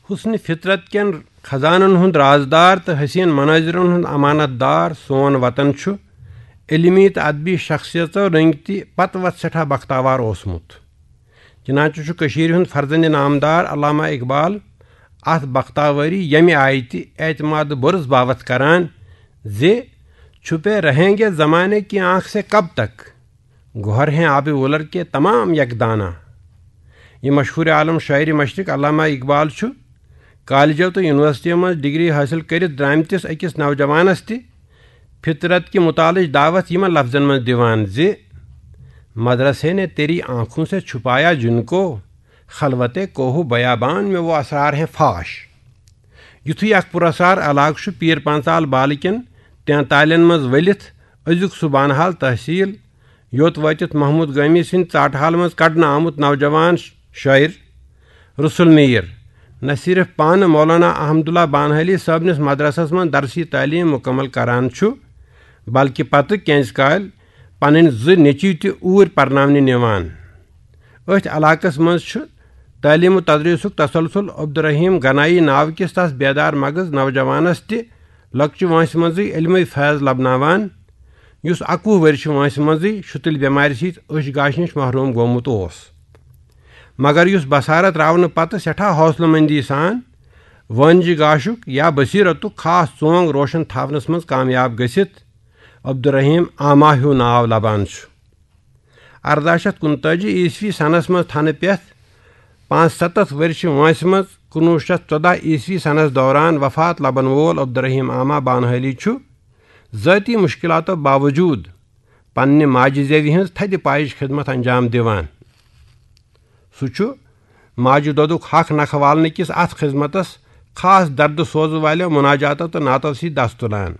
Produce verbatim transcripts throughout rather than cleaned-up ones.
حسن فطرت کٮ۪ن خزانن ہُنٛد رازدار تہٕ حسین مناظرن ہُنٛد امانت دار سون وطن چھُ علمی تہٕ ادبی شخصیژو رٔنگۍ تہِ پتہٕ وتھ سٮ۪ٹھاہ بختاوار اوسمُت۔ چنانچہ چھُ کٔشیٖرِ ہُنٛد فرزند نامدار علامہ اقبال اتھ بختاوٲری ییٚمہِ آیہِ تہِ اعتماد برس باوتھ کران زِ چھپے رہیں گے زمانے کی آنکھ سے کب تک، گوہر ہیں آب ولر کے تمام یک دانہ۔ یہ مشہور عالم شاعر مشرق علامہ اقبال چھُ کالجو تہٕ یونیورسٹی منٛز ڈگری حٲصِل کٔرِتھ درامتِس أکِس نوجوانس تہِ فطرت کہِ مطالعٕچ دعوت یِمن لفظن منٛز دِوان زِ مدرسے نے تیری آنکھوں سے چھپایا جن کو، خلوت کوہ بیابان میں وہ اسرار ہیں فاش۔ یُتھُے اکھ پُراسرار علاقہٕ چھُ پیٖر پانٛژال بالہٕ کٮ۪ن تینتالٮ۪ن منٛز ؤلِتھ أزیُک سُہ بانہال تحصیٖل، یوٚت وٲتِتھ محمود گٲمی سٕنٛدِ ژاٹہٕ حال منٛز کڑنہٕ آمُت نوجوان شٲعر رسول میر نہ صرف پانہٕ مولانا احمداللہ بانہالی صٲبنِس مدرسس منٛز درسی تعلیٖم مُکمل کران چھُ، بلکہِ پتہٕ کینٛژِ کالہِ پنٕنۍ زٕ نیٚچوۍ تہِ اوٗرۍ پرناونہِ نِوان۔ أتھۍ علاقس منٛز چھُ تعلیٖم و تدریٖسُک تسلسل عبدالرحیم گنایی ناوٕ کِس تس بیدار مغز نوجوانس تہِ لۄکچہِ وٲنٛسہِ منٛزٕے علمٕے فیض لبناوان، یُس اَکوُہ ؤرشہِ وٲنٛسہِ منٛزٕے شُتٕلۍ بٮ۪مارِ سۭتۍ أچھ گاشہِ نِش محروم گوٚمُت اوس۔ مگر یُس بصارت راونہٕ پتہٕ سٮ۪ٹھاہ حوصلہٕ مندی سان وٲنجہِ گاشُک یا بصیرتُک خاص ژونگ روشن تھاونس منٛز کامیاب گٔژھِتھ عبدالرحیم آما ہیوٗ ناو لبان چھُ۔ ارداہ شیتھ کُنتٲجی عیسوی سنس منٛز تھنہٕ پٮ۪تھ پانٛژستتھ ؤرشہِ وٲنٛسہِ منٛز کُنوُہ شیتھ ژۄداہ عیسوی سنس دوران وفات لبن وول عبدالرحیم آما بانہالی چھُ ذٲتی مشکلاتو باوجود پننہِ ماجہِ زیوِ ہٕنٛز تھدِ پایِچ خدمت انجام دِوان۔ سُہ چھُ ماجہِ دۄدُک حق نکھٕ والنہٕ کِس اتھ خدمتس خاص دردٕ سوزٕ والٮ۪و مناجاتو تہٕ نعتو سۭتۍ دس تُلان۔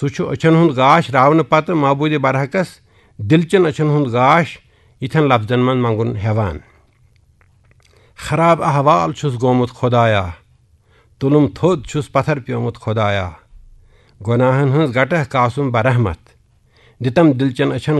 سُہ چھُ أچھن ہُنٛد گاش راونہٕ پتہٕ معبوٗدِ برحقس دِلچٮ۪ن أچھن ہُنٛد گاش یِتھٮ۪ن لفظن منٛز منٛگُن ہٮ۪وان۔ خراب احوال چھُس گوٚمُت خۄدایا، تُلُم تھوٚد چھُس پتھر پیومُت خۄدایا، گۄناہن ہٕنٛز گٹہ کاسُم برحمت، دِتم دِلچٮ۪ن أچھن